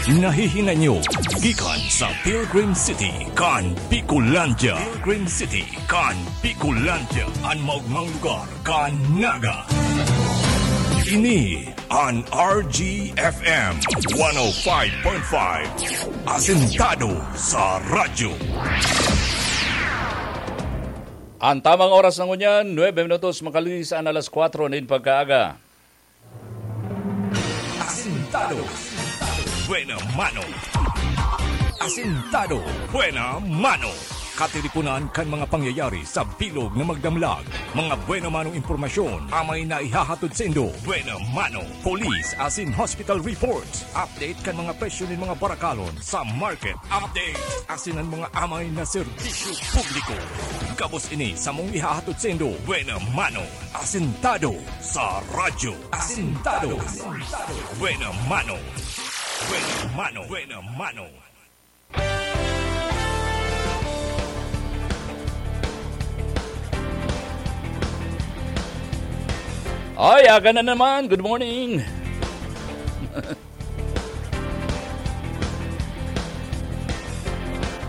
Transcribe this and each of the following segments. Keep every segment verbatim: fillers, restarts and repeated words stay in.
Nahihinay nyo gikan sa Pilgrim City kan Bicolandia. Pilgrim City kan Bicolandia, an maogmang lugar kan Naga. Ini an R G F M one oh five point five, Asentado sa Radyo. An tamang oras na ngunyan, nuebe minutos makalinis an alas kwatro nin pagkaaga. Asentado. Buena mano. Asentado. Buena mano. Katiriponan kan mga pangyayari sa bilog na magdamlag. Mga buena manong impormasyon, amay na ihahatod saindo. Buena mano. Police asin hospital reports. Update kan mga presyo nin mga barakalon sa market. Update. Asin an mga amay na serbisyo publiko. Gabos ini samong ihahatod saindo. Buena mano. Asentado sa Radyo. Asentado. Buena mano. Buena mano. Buena mano. Ay, aga na naman. Good morning.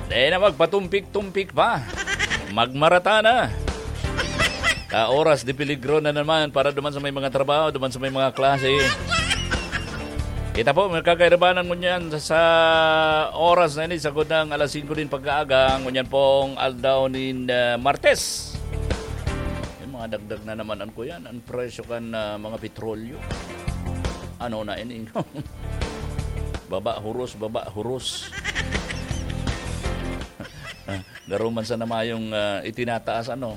Dahil na magpatumpik-tumpik pa. Magmarata na. Ka oras de peligro na naman para duman sa may mga trabaho, duman sa may mga klase. Kita po, magkakairabanan mo niyan sa, sa oras na ini, sagod ng alas singko din pagkaaga, ngunyan pong aldaw nin, ah, Martes. May mga dagdag na naman, an ko yan, ang presyo kan, ah, mga petrolyo. Ano na ini? Baba huros, baba huros. Garo man sana mayong, ah, itinataas, ano?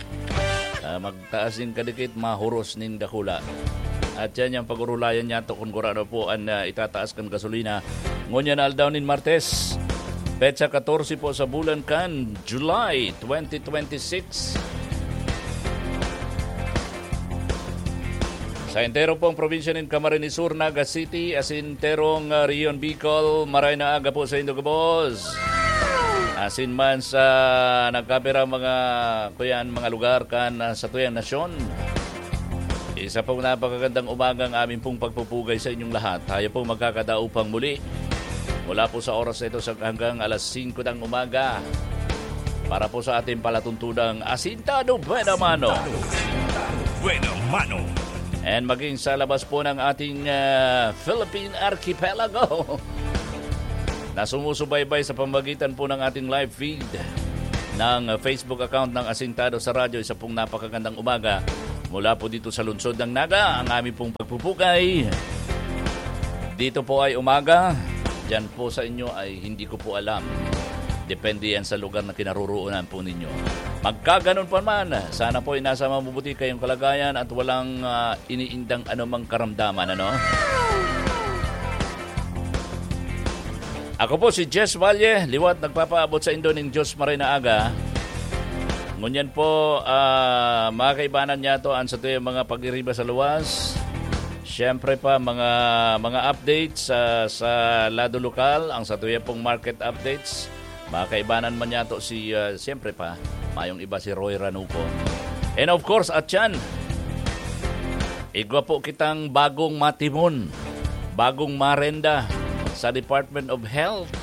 Ah, magtaas nin kadikit, mahuros nin dakula. At yan yung pag-urulayan niya to kung gurano po ang, ah, itataas kan gasolina. Ngunyan aldaw nin Martes, petsa katorse po sa bulan kan July twenty twenty-six. Sa entero pong probinsya nin Camarines Sur, Naga City, asin enterong, ah, Rehiyon Bicol, maray na aga po sa indo gabos. Asin man sa nagkapira mga, kuyan, mga lugar kan, ah, satuyang nasyon. Isa pong napakagandang umaga ang amin pong pagpupugay sa inyong lahat. Tayo pong magkakadaupang muli mula po sa oras na ito sa hanggang alas singko ng umaga para po sa ating palatuntunang Asintado Buena Mano. Buena Mano. And maging sa labas po ng ating, ah, Philippine Archipelago na sumusubaybay sa pamagitan po ng ating live feed ng Facebook account ng Asintado sa Radyo. Isa pong napakagandang umaga mula po dito sa lungsod ng Naga, ang aming pong pagpupugay. Dito po ay umaga, dyan po sa inyo ay hindi ko po alam. Depende yan sa lugar na kinaroroonan po ninyo. Magkaganon pa man, sana po ay nasa mabubuti kayong kalagayan at walang, ah, iniindang anumang karamdaman, ano? Ako po si Jess Valle, liwat nagpapaabot sa indo ning Diyos maray na aga. Ngunyan po, ah, mga kaibanan niya to, ang satuyang mga pag-iriba sa luwas. Siyempre pa, mga, mga updates sa, sa lado lokal, ang satuya pong market updates. Mga kaibanan man niya to si, ah, siyempre pa, mayong iba si Roy Ranuco. And of course, at yan, igwa po kitang bagong matimon, bagong marenda sa Department of Health.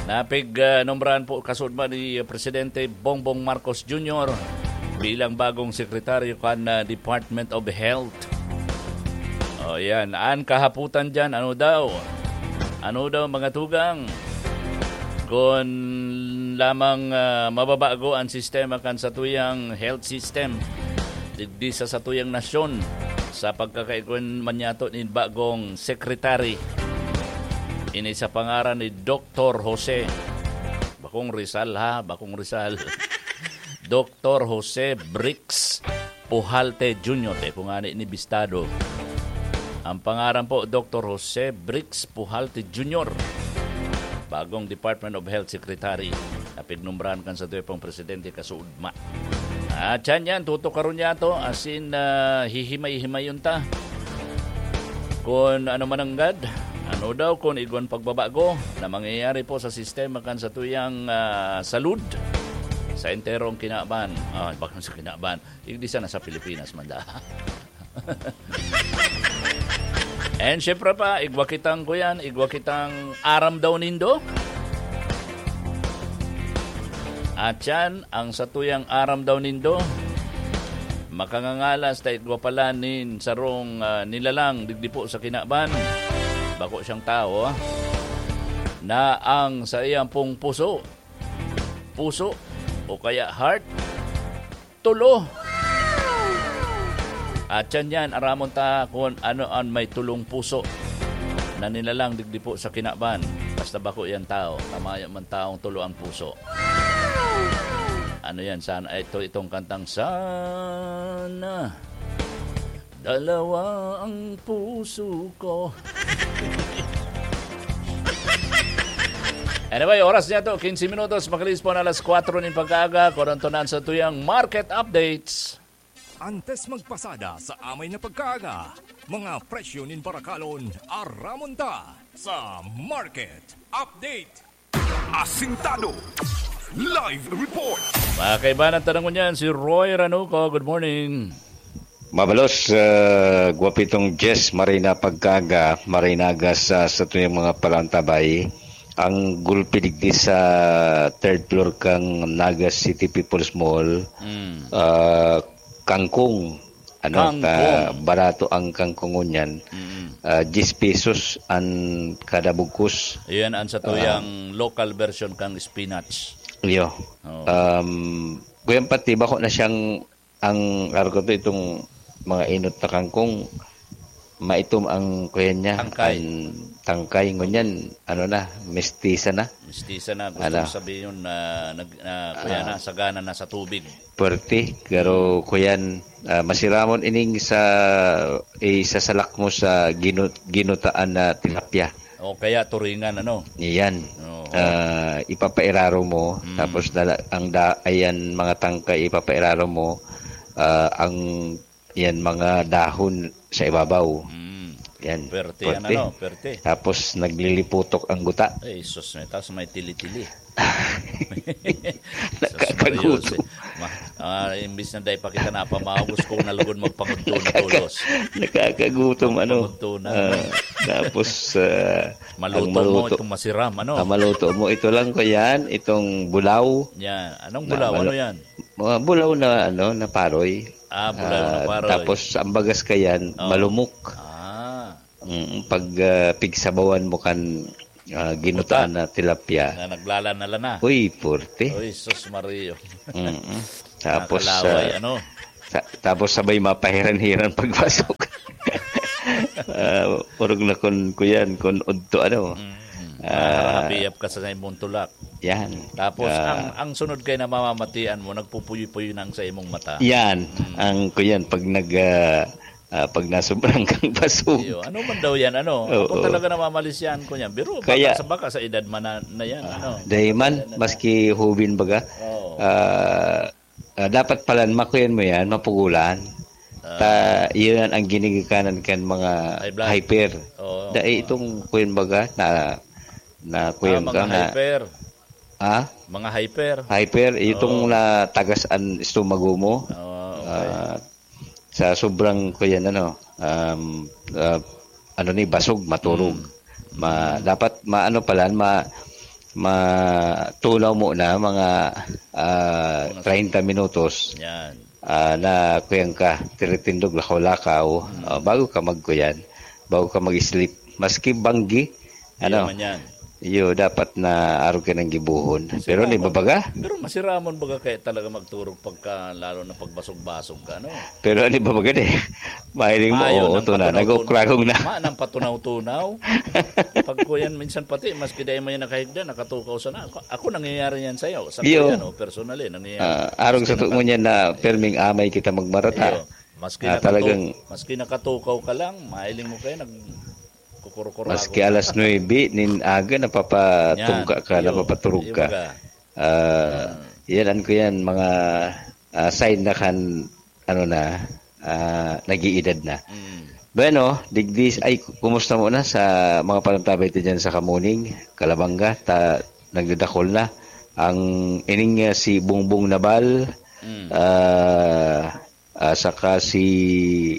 Napig, ah, nombrahan po kasudma ni Presidente Bongbong Marcos Junior bilang bagong sekretaryo kan, ah, Department of Health. O, yan. An kahaputan diyan, ano daw? Ano daw, mga tugang? Kun lamang, ah, mababago an sistema kan satuyang health system digdi sa satuyang nasyon, sa pagkakaigwa man niyato nin bagong secretary. Ini sa pangaran ni Doktor Jose. Bakong Rizal, ha? Bakong Rizal. Doktor Jose Bricks Pujalte Junior. Dai po ngani ini bistado. Ang pangaran po, Doktor Jose Bricks Pujalte Junior, bagong Department of Health Secretary na pignumbrahan kan satuya pong presidente kasuodma. At yan yan, tutukaron niya to, asin, ah, hihimay-himayon ta. Kun ano man nanggad, ano daw kun igwan pagbabago na mangyayari po sa sistema kan satuyang, ah, salud sa enterong kinaban. Ah, bakong sa kinaban. Igdi sana sa Pilipinas man da. And syempre pa, igwa kitang kuyan, igwa kitang aram daw nindo. At yan, ang satuyang aram daw nindo, makangangalas ta igwa pala nin sarong, ah, nilalang digdi po sa kinaban. Bako siyang tao, ah, na ang saiyang pong puso, puso o kaya heart, tulo. At yan yan, aramon ta kung ano an may tulong puso na nilalang digdi po sa kinaban. Basta bako yan tao, tamaya man taong tulo ang puso. Ano yan? Sana ito itong kantang sana dalawa ang puso ko. Anyway, oras niya to, quince minutos, makalis po na alas kwatro nin pagkaaga, korontonan sa tuyang market updates. Antes magpasada sa amay na pagkaaga, mga presyo nin barakalon, aramon ta sa market update. Asintado. Live report. Mga kaibanan, tanong ko niyan, si Roy Ranuco. Good morning. Mabalos, ah, gwapitong Jess, maray na pagkaaga, maray na aga sa, sa tuyang mga palantabay. Ang gulpi digdi sa third floor kang Naga City People's Mall, Mm. ah, kangkong. Ano, Kangkong. ta, barato ang kangkong ngunyan. Mm. Ah, diyes pesos an kada bugkos. Iyan ang sa tuyang Ah. local version kang spinach. Iyo. Oo. Um, kuyan pati, bako na siyang, ang, araw ko to, itong mga inot na kangkong, maitom ang kuyan niya, Tangkay. ang tangkay. Ngunyan, ano na, mestiza na. Mestiza na, gusto Ano? sabihin yun na, nag-, na, kuya Ah. na, sagana na sa tubig. Puwerte, pero kuyan, ah, masiramon ining sa, isasalak mo sa ginu-, ginutaan na tilapia. O kaya turingan, ano? Iyan. Oo. Ah, ipapairaro mo, Mm. tapos dala-, ang da-, ayan, mga tangkay, ipapairaro mo, ah, ang, yan, mga dahon sa ibabaw. Mm. Yan, Perte yan, puwerte. ano? Perte. Tapos nagliliputok ang guta. Ay, sus, may, tapos may tili-tili. Nakakagutom. Sus, Maria Jose. Ma-, ah, imbis na dai pa kita napamawag, gusto ko nalugod magpangudto na tolos. Nakakagutom, ano. Magpangudto na. Ah, tapos, ah, Maluto ang mo maluto, itong masiram, ano? ang maluto mo, ito lang ko yan, itong bulaw. Yan. Anong Na bulaw? Ano malu-, yan? mga bulaw na, ano, na paroy. Ah, bulaw na Ah, paroy. tapos ang bagas ka yan, Oh. malumok. Ah. Mm, pag, ah, pigsabawan mo kan, ah, ginutaan Buta. na tilapia. Na naglalana-lana. Uy, puwerte. Uy, sus Mario. Mm-mm. Tapos, Nakakalaway, ah, ano? sa-, tapos sabay mapahiran-hiran pagbasok. Ah, orog na kun, kuyan, kun udto, ano. Mm. Ah, Nakakapiyap ka sa imong tulak. Yan. Tapos, Ah. ang, ang sunod kay namamamatian mo, nagpupuyo-puyo na ang sa imong mata. Yan. Mm. Ang, kuyan, pag nag, ah, ah, pag nasobrang kang basog. Iyo, ano man daw yan, ano? Oo. Ako talaga namamalisyan ko niyan. Biro, baka Kaya sa, baka sa edad man na, na yan, Ah, ano? dahil man, Kaya na maski hubin baga, Oo. ah, ah, dapat palan, makuyan mo yan, mapugulan. Ah. Ta, yun ang ginigikanan kan mga High blood. hyper. Oo, Dahil oo. itong kuyan baga, na, na Ah, kuyan mga ka na. hyper. Ha? Mga hyper. Hyper, itong Oo. natagas ang estomago mo. Oo, okay. Ah, sa sobrang, kuyan, ano, um, ah, ano ni, basog, maturog. Mm. Ma-, dapat maano pala, ma-, matunaw muna, mga, ah, Mga treinta minutos. Yan. Ah, na kuyan ka, tiritindog, lakaw-lakaw, Mm. ah, bago ka magkuyan, bago ka mag-sleep. Maski banggi, Iyo ano, man yan. iyo, dapat na arog ka ng gibuhon. Pero Sira ni man. babaga? Pero masiramon baga kaya talaga magturog pagka, lalo na pagbasog-basog ka, no? Pero ano ba maganda eh? Mahiling mo, Maayo oo, nang ito na, patunaw-tunaw. nag-ukragong na. Ma, nang patunaw-tunaw. Pag kuyan, minsan pati, maski dahil may nakahigda, nakatukaw sana. Ako, ako nangyayari yan sa'yo. Sa Iyo. kuyan, oh, personally, nangyayari. Ah, arog Maski sa tuon naka- niya na perming amay kita magmarata. Iyo. Maski Ah, nakatu-, talagang maski nakatukaw ka lang, mahiling mo kayo, nagkukurukurago Maski ka. alas nuebe nin aga, napapatungka Yan, ka, iyo, napapaturog iyo ka. baga. Ah, Hmm. yan, ano ko yan, mga, ah, sign na kan, ano na, ah, nag-iidad na. Mm. Bueno, digdi, ay, kumusta muna sa mga panantabay ta dyan sa Kamuning, Kalabanga, ta, nagdadakol na. Ang ining, ah, si Bongbong Nabal, Mm. ah, ah, saka si,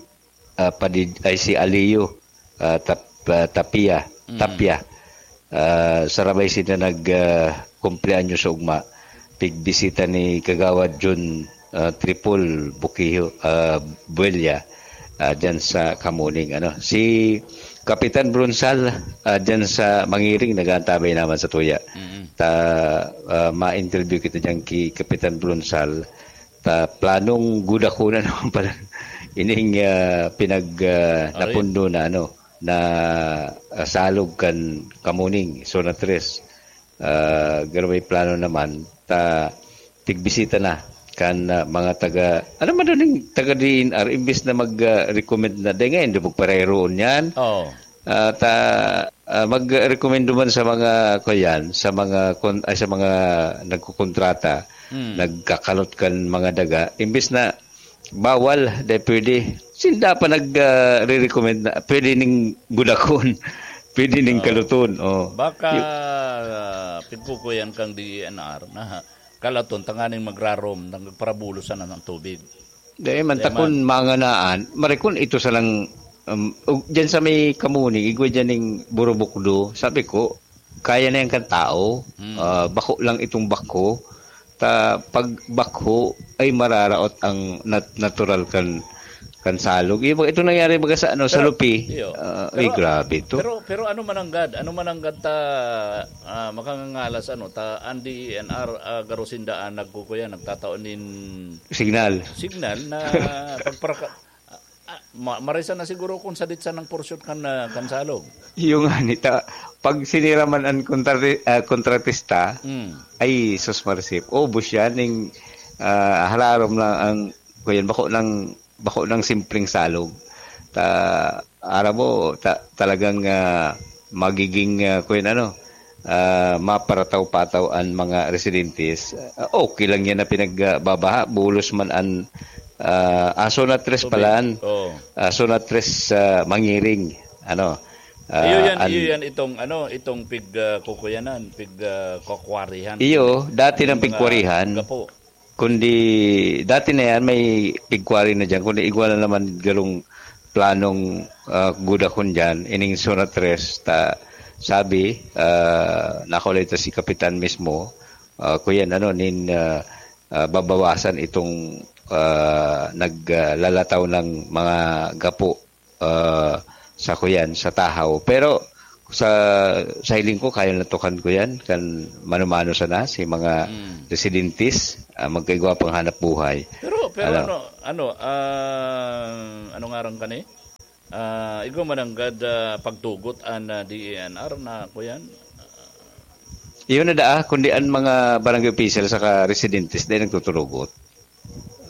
ah, Padid-, ay, si Aliyo. ah, Tap-, ah, Tapia, Mm. Tapia. Ah, sarabay sila nag, ah, kumpleanyo sa ugma. Pigbisita ni Kagawad Jun, ah, Tripol Bukiho, ah, Buelya, ah, dyan sa Kamuning, ano. Si Kapitan Bronsal, ah, dyan sa Mangiring, nag-aantabay naman sa tuya. Mm. Ta, ah, ma-interview kita dyan ki Kapitan Bronsal. Ta, planong gudakunan naman pala ining, ah, pinag, ah, Aray. napundo na, ano, na, ah, salog kan Kamuning, Zona tres. Ah, garo may plano naman, ta, tigbisita na kan, ah, mga taga, ano man daw ning taga D N R, imbis na mag, ah, recommend na, dahil ngayon, di magpareroon yan. Oo. Ah, ta, ah, magrekomendo man sa mga, kuyan, sa mga kon-, ay, sa mga nagkokontrata, Hmm. nagkakalot kan mga daga, imbis na bawal, di pwede. Sinda pa nag, ah, re-recommend na pwede ning gudakon, pwede ning Oo. kaluton, oh. Baka, Yu- ah, pigkukuyan kang D E N R na kalaton tanganing magrarom, nagparabulosan na ng tubig. Di man, Di ta kun man. manganaan, marikon ito sa lang, um, ug-, dyan sa may Kamuning, igwa dyan ning burubukdo, sabi ko, kaya na yan kan tao, Hmm. ah, bako lang itong bako. Ta, pag bako ay mararaot ang nat-, natural kan, kan salog. Yung, ito nangyari baga sa, ano, sa Pero, Lupi, iyo. ah, ay, Pero, grabe to. pero, pero ano mananggad? Ano mananggad ta, ah, makangangalas, ano, ta, ang D E N R, ah, garo sinda ang nagkukuya, nagtatao nin Signal. signal na pagparaka-, ah, ah, ma-, marisa na siguro kung sadit sa nang porsyon kan, ah, kan salog. Yung nga, nita, pag sinira man ang kontrati-, ah, kontratista, Mm. ay, sus, marisip. Ubos yan, ning, ah, hararom lang ang, kuyan, bako ng, bako ng simpleng salog. Ta, aram mo, ta-, talagang, ah, magiging, ah, kuyan, ano, ah, maparataw-pataw an mga residentes. Ah, okay lang yan na pinagbabaha, bulos man an, ah, ah, Zona tres Tubig. pala an, Oo. ah, Zona tres, ah, Mangiring, ano, ah, Iyo yan, an iyo yan itong, ano, itong pig, ah, kukuyanan, pig, ah, kukwarihan. Iyo, dati Yung ng mga pigkwarihan. gapo. Kundi dati na yan, may pigkwari na diyan, kundi igwa na naman garong planong, ah, gudakon diyan, ining Zona tres, ta, sabi, ah, nakulay ta si Kapitan mismo, ah, kuyan, ano, nin, ah, ah, babawasan itong, ah, naglalataw ng mga gapo, ah, sa kuyan, sa Tahaw. Pero sa, sa hiling ko, kaya na to kan kuyan, kan mano-mano sana, si mga Mm. residentes, ah, magkaigwa pang hanap buhay. Pero, pero Ano? ano, ano, ah, ano ngaran ka ni? Ah, igwa mananggad, ah, pagtugot an, ah, D E N R na kuyan? Iyon na daa, kundi an mga barangay official saka residentes, dahil nagtuturugot.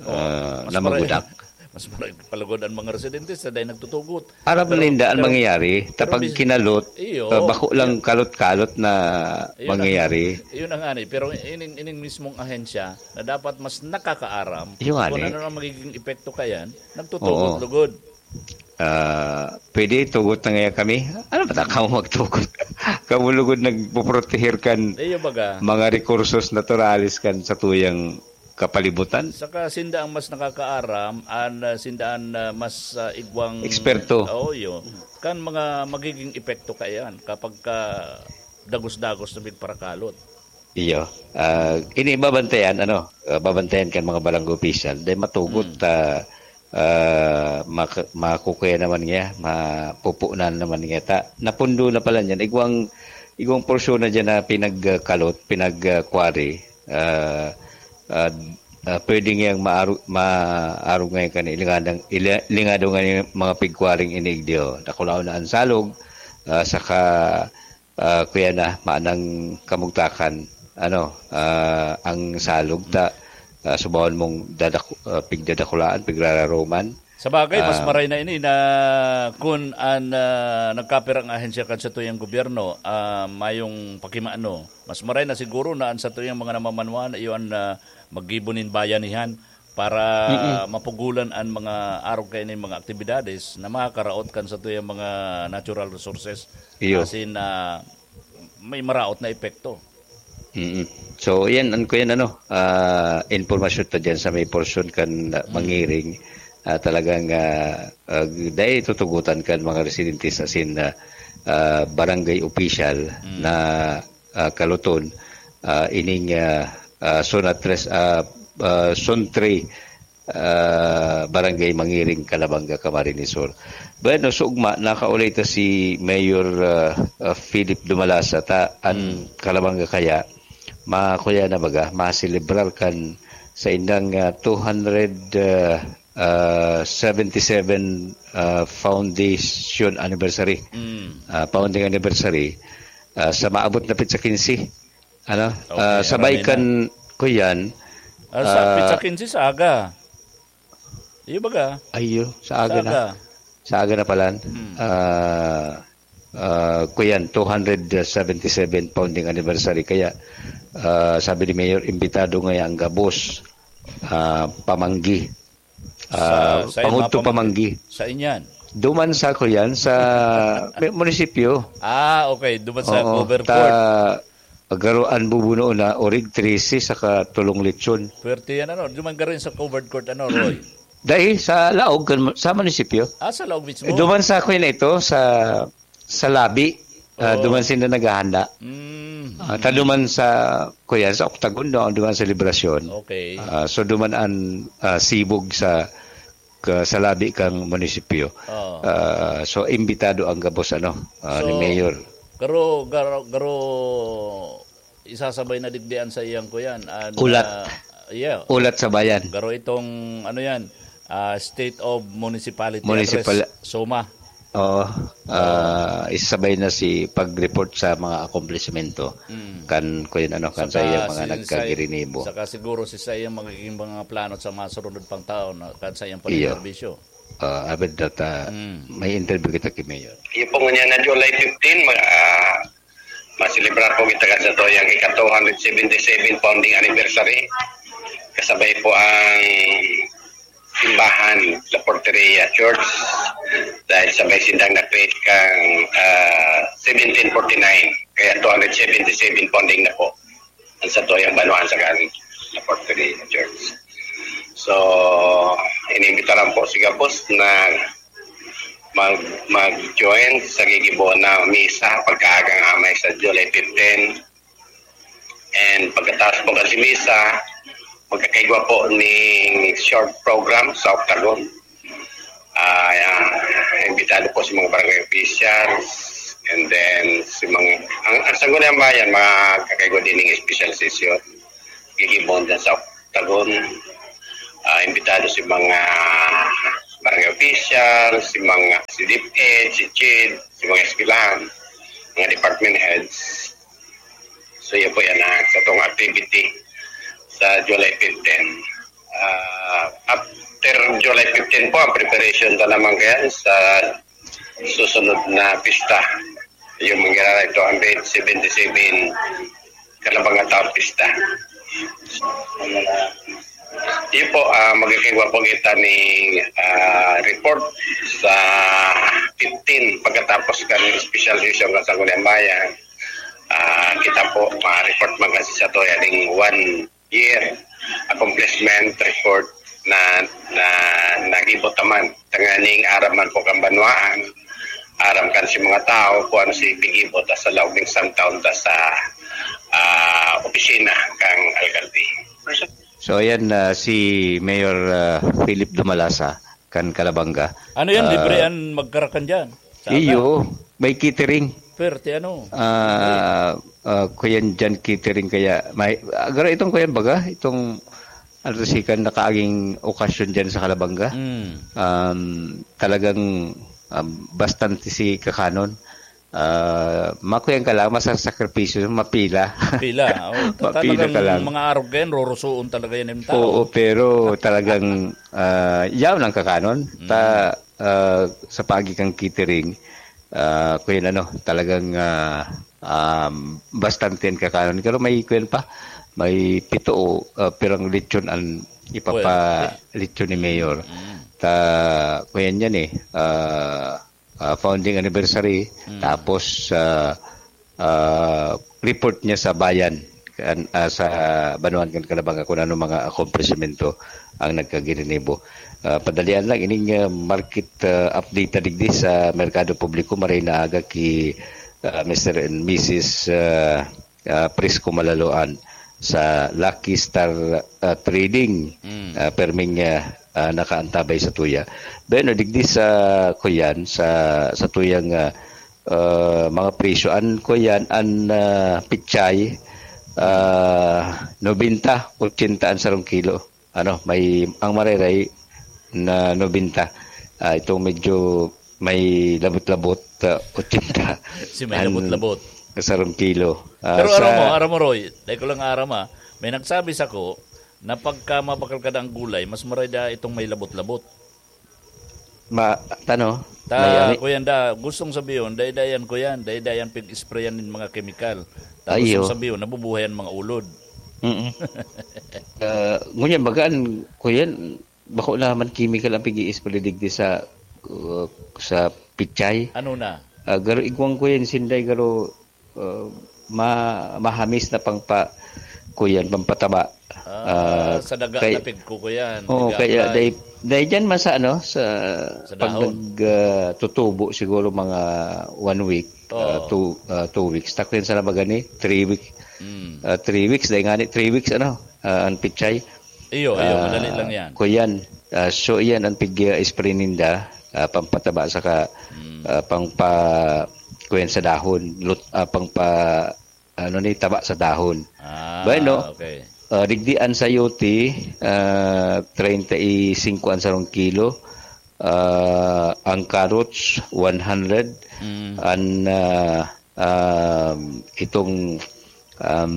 Oh, Ah, mas na maray-, magudak. mas maray palugod ang mga residentes na dahil nagtutugot. Aram Pero, ninda ang pero, mangyayari, pero tapag mis-, kinalot, iyo, ah, bako lang iyo. kalot-kalot na Iyo na, mangyayari. iyo na nga ni, pero ining, ining mismong ahensya na dapat mas nakakaaram Iyo nga kung ni. ano ang magiging epekto kayan, nagtutugot Oo. lugod. Ah, pwede tugot na nga kami. Ano ba ta kamo magtugot? Kamo lugod nagpoproteher kan Iyo baga. mga rekursos naturales kan sa tuyang kapalibutan. Saka sinda ang mas nakakaaram, an, ah, sinda an, ah, mas, ah, igwang Eksperto. Oo, iyo. Kan mga magiging epekto kaiyan kapag ka dagos-dagos na pigparakalot. Iyo. Ah, ini babantayan, ano, ah, babantayan kan mga barangay official. Dahil matugot, Hmm. ah, ah, mak-, makukuya naman niya, mapupunan naman niya. Ta, napundo na pala niyan. Igwang, igwang porsyon na dyan na pinagkalot, pinag-, ah, quarry. Ah, ah, ah, pwede niyang maaru-, maarog ngayon kan ilingadang, ili-, ilingado ngayon mga pigkwaring iniigdiyo. Dakulaon na ang salog, ah, saka, ah, kuya na, maanang kamugtakan, ano, ah, ang salog ta, ah, subahon mong dadak-, ah, pigdadakulaan, pigrararoman. Sa bagay, mas Ah. maray na ini na kun an, ah, nagkapirang ahensya kan satuyang gobyerno, ah, mayong pakimano. Mas maray na siguro na an satuyang mga namamanwaan iyo an, ah, maggibo nin bayanihan para Mm-mm. mapugulan an mga arog kaini mga aktibidades na makakaraot kan satuyang mga natural resources. Iyo. Asin, ah, may maraot na epekto. Mm. So, yan, an-, kuyan, ano, ah, impormasyon ta diyan sa may porsyon kan, ah, Mm. Mangiring. ah, talagang, ah, ah, dai tutugotan kan mga residente sa sin, ah, ah, barangay official Mm. na, ah, kaluton, ah, ining, ah, ah, Zona tres, ah, ah, Zone three, ah, Barangay Mangiring, Calabanga, Camarines Sur. Bueno, sa ugma, nakaulay ta si Mayor, ah, ah, Philip Dumalasa, ta an Mm. Calabanga kaya, makuya na baga, maselebrar kan sa indang, ah, two hundred, ah, ah, seventy-seven, ah, foundation anniversary, Mm. ah, founding anniversary, ah, sa maabot na petsa quince. Ano? Okay, Ah, sabay rami na. kan, kuyan, Ah, sa ah, petsa quince sa aga. Iyo baga? Ayo, sa Sa aga na. aga. Sa aga na palan. Mm. Ah, ah, kuyan, two hundred seventy-seven founding anniversary. Kaya, ah, sabi ni Mayor, imbitado ngaya ang gabos, ah, pamanggi. Ah, Sa, sa pangudto Inmapa man. pamanggi. Sa inyan. Duman sa, kuyan, sa mi-, munisipyo. Ah, okay. Duman sa Oo, cover ta, court. Garo an bubuno na orig trese saka tolong lechon. Pwerte yan, ano? Duman garo yan sa covered court, ano, Roy? Dai, sa laog, kan, sa munisipyo. Ah, sa laog mismo? Eh, duman sa, kuyan na ito, sa, sa labi. Ah, Oo. duman sila naghahanda. Mm. Ah, ta duman sa, kuyan, sa Octagon, no? Duman sa Liberacion. Okay. Ah, so, duman an, ah, sibog sa, ka, sa labi kang munisipyo. Oo. Ah, so, imbitado ang gabos, ano, ah, ni So, Mayor. garo, garo, garo, isasabay na digdi an sa iyang kuyan, an, Ulat. ah, yeah. Ulat sa bayan. Garo itong, ano yan, ah, State of Municipality Municipal- Address, SOMA. Oo. Ah, isasabay na si pag-report sa mga akomplishmento Mm. kan, kuyan, ano, kan sa Saka iyang mga si, nagkagirinibo. saka siguro si sa iyang magiging mga plano sa mga sunod pang taon, no, kan sa iyang Iyo. pagserbisyo. Ah, abid data, Mm. may interview kita kay Mayor. Iyo po ngunyan na July fifteen, mag-, ah, maselebrar po kita kan sa to yang ika two hundred seventy-seven founding anniversary. Kasabay po ang simbahan, La Porteria Church. Dahil sabay sindang na-create kang, ah, seventeen forty-nine. Kaya two hundred seventy-seven founding na po. Ang sa to yang banwaan sa kan La Porteria Church. So, inimbitaran po si gabos na mag, mag-join sa gigibo na misa pagkaagang amay sa July fifteen. And pagkatapos po kasi misa, magkakaigwa po ning short program sa Octagon. Ah, ah, imbitado po sa mga barangay officials. And then, si mga, ang, ang Sangguniang Bayan, magkakaigwa din ng special session. Gigibon dyan sa Octagon. Ah, imbitado si mga barangay official, si mga, si DepEd, si CHED, si mga eskwelahan, mga department heads. So, yan po yan, ah, sa tong activity sa July fifteen. Ah, after July fifteen po, ang preparation na naman kaya sa susunod na pista. Yung mangyayari two hundred seventy-seven Kalabanga Town Pista. Yun po, ah, magkakaigwa po kita ni, ah, report sa fifteen pagkatapos kan special session kan Sangguniang Bayan. Ah, kita po, ma-report man kasi sa to, yaning one year accomplishment report na, na nagibo ta man. Tanganing aram man po kan banwaan, aram kan si mga tao kung ano si pigibo ta sa laog ning isang taon ta sa, ah, opisina kang alkalde. So, ayan, ah, si Mayor, ah, Philip Dumalasa, kan Calabanga. Ano yan? Ah, Libre an magkarakan dyan? Sa iyo, may catering. Perte, ano? Ah, ah, kuyan dyan catering kaya may, ah, garo itong kuyan baga, itong, ano to, si kan nakaaging okasyon dyan sa Calabanga. Mm. Um, talagang, um, bastante si kakanon. Ah, makuyan ka lang, masasakripisyo, mapila. Pila, oh, ta-, Mapila ka talagang lang. mga arog yan, rorosoon talaga yan yung tao. Oo, pero talagang, ah, yaw ng kakanon. Mm. Ta-, ah, sa paagi kang catering, ah, kuyan ano, talagang, ah, um, bastante ang kakanon. Pero may kuyan pa, may pito o, ah, pirang lechon ang ipapa-, Well, lechon ni Mayor. Mm. Ta-, kuyan yan eh, ah, ah, founding anniversary, Mm. tapos, ah, ah, report niya sa bayan, kan, ah, sa banwaan kan Calabanga kun ano mga akomplishmento ang nagkagirinibo. Ah, padalian lang ining, ah, market, ah, update na digdi sa merkado publiko, maray na aga ki, ah, Mister and Missus, ah, ah, Prisco Malaloan sa Lucky Star, ah, Trading. Mm. Ah, perming, ah, ah, nakaantabay sa tuya. Bueno, digdi sa kuyan, sa, sa tuyang, ah, ah, mga presyo. An kuyan, an, ah, pichay, ah, nobenta, ochenta an sarong kilo. Ano, may, ang mareray na nobenta. Ah, itong medyo may labot-labot, ah, ochenta. Si may An labot-labot. Sarong kilo. Ah, Pero sa aram mo, aram mo, Roy, dahil ko lang aram, ah, may nagsabi sa ko na pagka mabakal ka ng gulay, mas maray da itong may labot-labot. Ma-, tano? Ta, May ami? Kuyan da, gustong sabiyon, daydayan ko yan, daydayan pig-sprayan nin mga kemikal. Ta, Ayo. Gustong sabiyon, nabubuhay ang mga ulod. Mm-mm. Ah, ngunyan, bagaan, kuyan, bako naman chemical ang pig-i-spray digdi sa, uh, sa pichay. Ano na? Ah, garo igwang ko yan, sinday, garo, uh, ma-, mahamis na pangpa-, kuyan, pampataba. Ah, Ah, sa daga kay-, na pigko ko yan, oo, kaya nag-a-apply. Dahil, dahil dyan man sa, ano, sa Sa pag dahon. nag, ah, tutubo siguro mga one week, Oo. ah, two, ah, two weeks. Takrin sa nabaga ni, three weeks. Mm. Ah, three weeks, dahil nga ni, three weeks, ano, ah, ang pichay. Iyo, iyo, Ah, madali lang yan. Kuyan. Ah, so, iyan ang pig, ah, spray ninda, ah, pampataba saka, Mm. ah, pangpa-, kuyan sa dahon, lut-, ah, pangpa-, ano ni, taba sa dahon. Ah, Bueno, okay. ah, digdi an sayote, ah, treinta y cinco an sarong kilo. Ah, ang carrots, one hundred. Mm. An, ah, um, itong, um,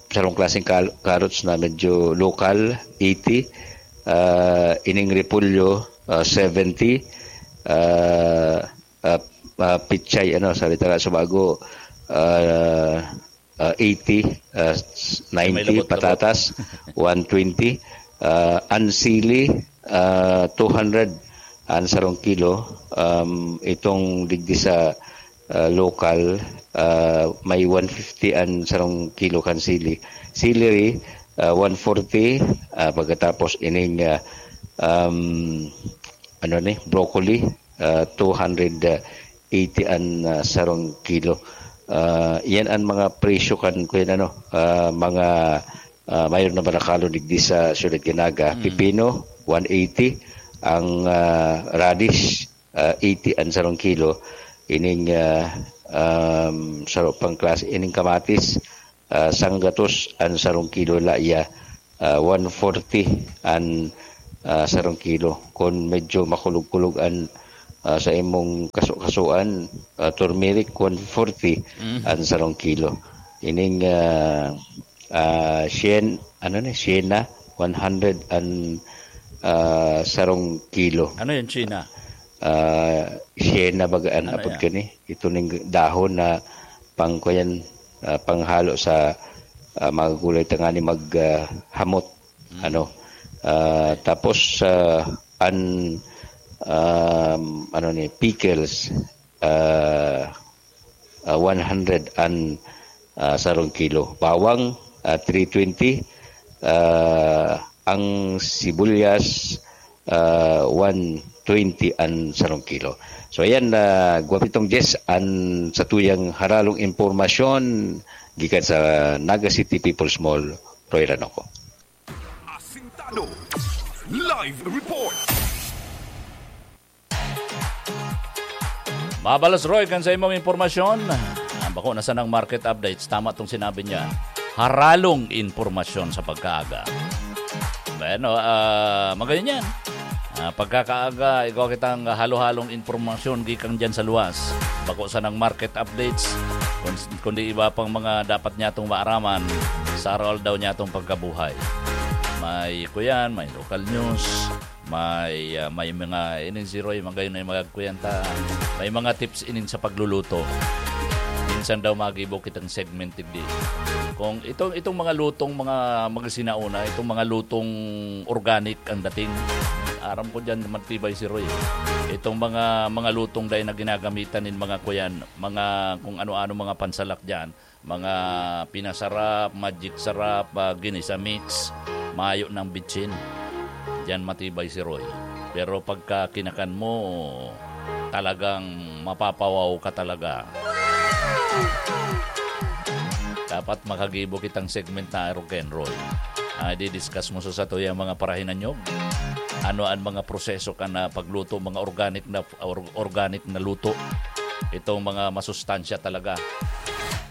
sarong klaseng kal-, carrots na medyo local, eighty. Ah, ining repolyo, ah, seventy. Ah, ah, ah, pichay, ano, sa litera sa bago, ah, ah, eighty, ah, s-, May ninety, labot-labot. Patatas, one twenty, ah, an sili, ah, two hundred an sarong kilo. Um, itong digdi sa, ah, local, ah, may one fifty an sarong kilo kan sili. Celery, ah, one forty, ah, pagkatapos ining, ah, um, ano ni, broccoli, ah, two hundred eighty an, ah, sarong kilo. Ah, iyan an mga presyo kan, kuyan ano, ah, mga, ah, mayor na barakalo digdi sa Siyudad kan Naga. Mm. Pipino, one eighty. Ang, ah, radish, ah, eighty an sarong kilo. Ining, ah, um, saro pang klase, ining kamatis, ah, sanggatos an sarong kilo laya, ah, one forty an, ah, sarong kilo. Kun medyo makulog-kulog an, ah, sa imong kaso-kasoan, ah, turmeric, one forty Mm. an sarong kilo. Ining, ah, ah, syen-, ano ni, siena, one hundred an, ah, sarong kilo. Ano yan, China? Ah, siena baga an Ano apod yan? kani. Ito ning dahon na pang, kuyan, ah, panghalo sa, ah, mga gulay tangani mag, ah, hamot. Mm. Ano? Ah, tapos, ah, an, um, ano ni, pickles, ah, ah, one hundred an, ah, sarong kilo. Bawang, ah, three twenty. Ah, ang sibuyas, ah, one twenty an sarong kilo. So, ayan, ah, gwapitong Jess, an sa tuyang haralong impormasyon gikan sa Naga City People's Mall, Roy Ranoco. Asintado. Live report. Mabalos, Roy, kan sa imong impormasyon. Ang bako na sanang market updates, tama tong sinabi niya. Haralong impormasyon sa pagkaaga. Bueno, ah, magayon yan. Ah, pagkakaaga, ikaw kitang halo-halong impormasyon gikan dyan sa luwas. Bako sanang market updates, kun-, kundi iba pang mga dapat niya itong maaraman sa araw-aldaw niya itong pagkabuhay. May kuyan, may local news, may, ah, may mga, ining si Roy, magayon na yung magagkuyan ta. May mga tips ining sa pagluluto. Minsan daw magibo kitang segment digdi. Kung itong, itong mga lutong, mga, mga sinauna, itong mga lutong organic ang dating. Aram ko diyan, matibay si Roy. Itong mga, mga lutong dai na ginagamitan nin mga kuyan, mga kung ano-ano, mga pansalak diyan, mga pinasarap, magic sarap, ah, ginisa mix, mayo ng bitsin. Diyan matibay si Roy. Pero pagka kinakan mo, talagang mapapawaw ka talaga. Dapat makagibo kitang segment na Rock and Roll. Ah, di-discuss mo sa satoya mga parahinanyog. Ano ang mga proseso kan pagluto, mga organic na or-, organic na luto. Itong mga masustansya talaga.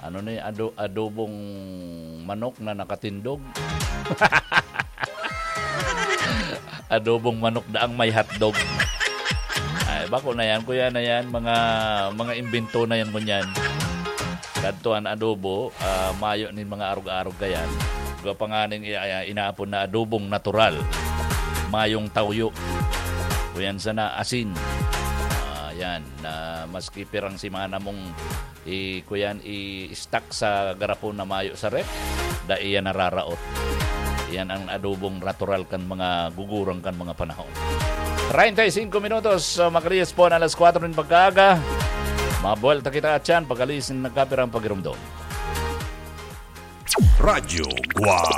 Ano ni ado-, adobong manok na nakatindog? Adobong manok daang may hotdog. Ay, bako na yan, kuya na yan. Mga, mga imbento na yan, ngunyan. Kadto an adobo, ah, mayo nin mga arog-arog kayan. Gwa pa nga ning i-, ah, inaapod na adobong natural. Mayong tawyo. Kuyan sana, asin. Ah, yan. Na maski pirang semana mong i-, kuyan, i-stock sa garapon na mayo sa ref, dai yan nararaot. Yan ang adobong natural kan mga gugurang kan mga panahon. Treinta y cinco minutos, ah, makalihis po na alas kwatro nin pagkaaga. Mabuwelta kita atyan, pagkalihis nin nagkapirang pagirumdom. Radyo Guwang.